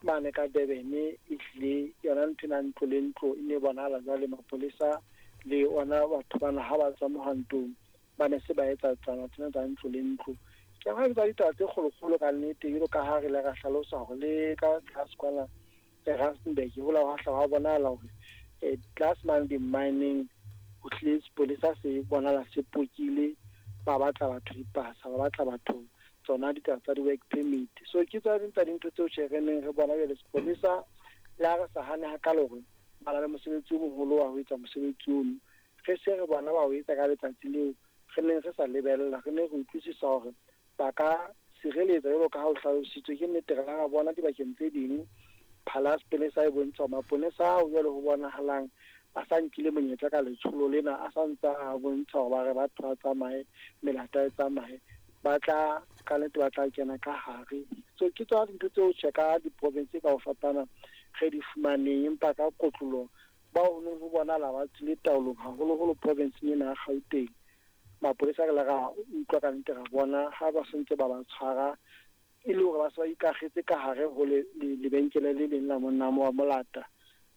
Mane ka Durban ehlile yona ntho ena ntlo le ntlo e ne bonahala jwale mapolesa le ona batho bana ha ba tswa mohwantong ba ne se ba etsa tsana tsena tsa ntlo le ntlo. Ke a tsa ditaba tse kgolokgolo ka nnete, jwalo ka ha re ile ra hlalosa hore le ka tlase kwana Rustenburg ho la hwa hla hwa bonahala hore tlase mane di-mining ho hlile sepolesa se bonahala se pokile, ba batla batho dipasa, ba batla batho tsona ditaba tsa di-work permit. So ke tsa ding tsa dintho tseo tjhe re neng re bona jwale sepolesa le ha re sa hane hakalo hore ba na le mosebetsi o moholo wa ho etsa mosebetsi ono, re se re bona ba o etsa ka letsatsi leo re neng re sa lebella. Re ne re utlwisisa hore ba ka sireletsa jwalo ka ha o hlalositswe. Ke nnete, re la ra bona dibakeng tse ding phala ya sepolesa e bontsha hore maponesa ao jwale ho bonahalang a sa nkile monyetla ka letsholo lena, a sa ntsa a bontsha hore ba re batho ba tsamaye, melata e tsamaye, ba tla ka nnete ba tla kena ka hare. So ke tsona dintho tseo tjhe ka diprovince ka ho fapana re di fumaneng, empa ka kotloloho bao ho neng ho bonahala ba tswile taolong haholoholo provinceng ena ya Gauteng. Mapolesa re le ra utlwa ka nnete, ra bona ha ba sentse ba ba tshwara e le hore ba se ba ikakgetse ka hare ho lebenkele le leng la monna wa molata,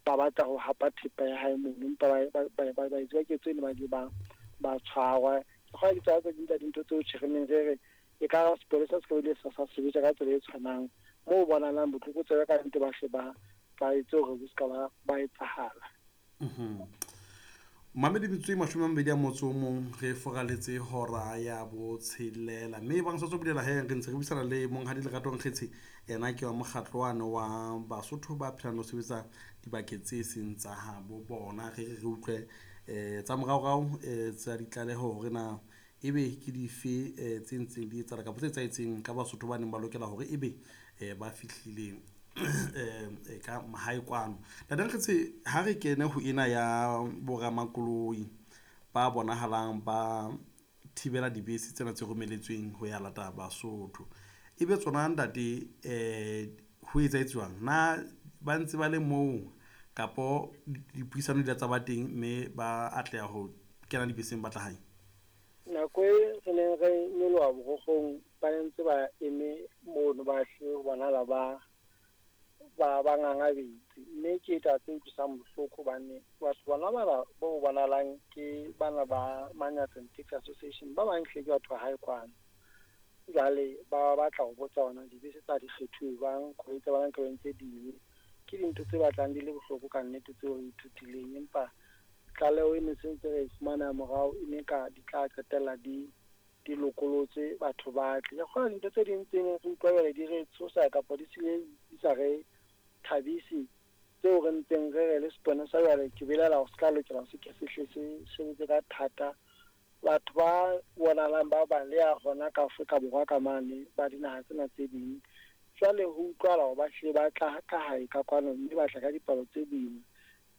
ba batla ho hapa thepa ya hae mono, empa baetsi ba ketso eno ba ile ba tshwarwa. Ke kgolwa ke tsona tse ding tsa dintho tseo tjhe re neng re re e ka sepolesa se ka bile sa sebetsa ka tsela e tshwanang moo bonahalang botlokotsebe ka nnete ba hle ba etse hore bo ska ba etsahala. Mamedi metsotso e 21 re foraletse hora ya botshelela, mme bang sa tswa bulela he re ntse re buisana le monghadi Lerato Nkgetshe, yena ke wa mokgatlo wane wa Basotho ba phelang le ho sebetsa dibakeng tse seng tsa habo bona. Re re re utlwe tsa moraorao tsa ditlaleho hore na ebe ke dife tse ntseng di etsahala kapa tse etsahetseng ka Basotho ba neng ba lokela hore ebe ba fihlile ka mahae kwano. Ntate Nkgetshe, ha re kene ho ena ya boramakoloi ba bonahalang ba thibela dibese tsena tse romeletsweng ho ya lata Basotho, ebe tsona ntate ho etsahetse jwang? Na ba ntse ba le moo kapo dipuisano di la tsa ba teng mme ba atleha ho kena dibeseng ba tla hae? Nako e re neng re nyoloha borokgong ba ne ntse ba eme mono, ba hle ho bonahala ba ngangabetse, mme ke taba tse utlwisang bohloko hobane batho bona bana bo bonahalang ke bana ba Manyatseng Taxi Association, ba bang hle ke batho ba hae kwano. Jwale ba batla ho botsa hona dibese tsa di kgethuwe jwang, koloi tsa bona nka tse ding. Ke dintho tse batlang di le bohloko ka nnete tseo re ithutileng, empa tlaleho e ne sentse re e fumana morao e ne ka di tla qetella di lokolotse batho ba tle. Ke kgolwa dintho tse ding tse neng re utlwa jwale di re tshosa kapa di sile di sa re thabise, tseo re ntseng re re le sepolesa jwale ke belaela hore se tla lokela se ke se hle se sebetse ka thata. Batho ba bonahalang ba baleha hona ka Afrika Borwa ka mane ba dinaha tsena tse ding, jwale ho utlwahala hore ba hlile ba tla ka hae ka kwano mme ba tla ka dipalo tse boima.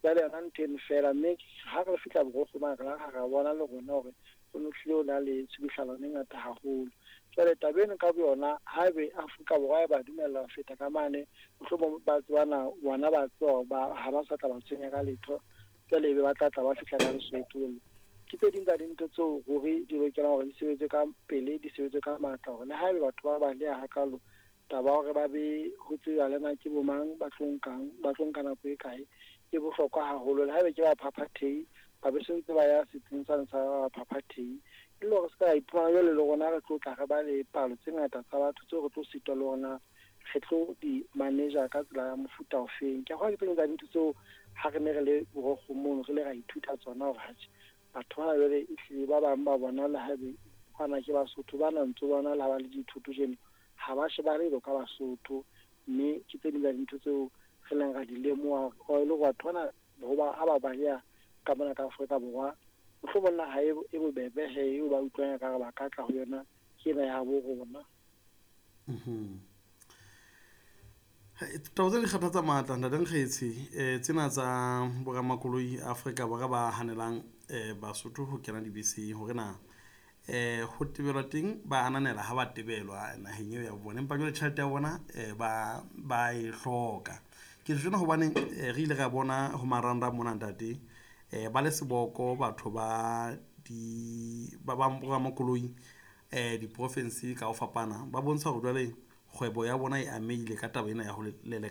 Jwale yona ntho eno feela, mme ha re fihla borokgo mane re la ra bona le rona hore ho no hlile ho na le tshubuhlellano e ngata haholo. Jwale taba eno ka boyona haebe Afrika Borwa e ba dumella ho feta ka mane, mohlomong ba tsebana bona ba tseba hore ha ba sa tla ba tshwenya ka letho, jwale ebe ba tla tla ba fihla ka Lesotho. Ke tse ding tsa dintho tseo ruri di lokelang hore di sebetse ka pele, di sebetse ka matla hore le haebe batho ba baleha hakalo, taba ya hore ba be ho tsejwa le na ke bo mang ba tlo nkang, ba tlo nka nako e kae, e bohlokwa haholo. Le haebe ke baphaphathehi, ba be sentse ba ya setsing sane sa baphaphathehi, e le hore se ka iphumana jwale le rona re tlo tla re ba le palo tse ngata tsa batho tseo re tlo sitwa le rona re tlo di manager ka tsela ya mofuta ofeng. Ke a kgolwa ke tse ding tsa dintho tseo ha re ne re le borokgo mono re le ra ithuta tsona hore atjhe batho bana jwale ehlile ba bang ba bona le haebe bana ke Basotho, ba na ntse bona le ha ba le dithoto jeno ha ba shebale jwalo ka Basotho, mme ke tse ding tsa dintho tseo re leng ra di lemoha hore e le hore batho bana hoba ha ba baleha ka mona ka Afrika Borwa, mohlomong naha e bobebe he eo ba utlwang ekare ba ka tla ho yona ke ena ya habo rona. Taba tse di kgathatsa matla ntate Nkgetshe, tsena tsa boramakoloi Afrika Borwa ba hanelang Basotho ho kena dibeseng, hore na ho tebelwa teng ba ananela ha ba tebelwa naheng eo ya bona, empa jwale tjhelete ya bona ba e hloka. Ke tjho tjena hobane re ile ra bona ho marangrang mona ntate, ba le seboko batho ba di ba boramakoloi diprofinse ka ho fapana, ba bontsha hore jwale kgwebo ya bona e amehile ka taba ena ya ho leleka.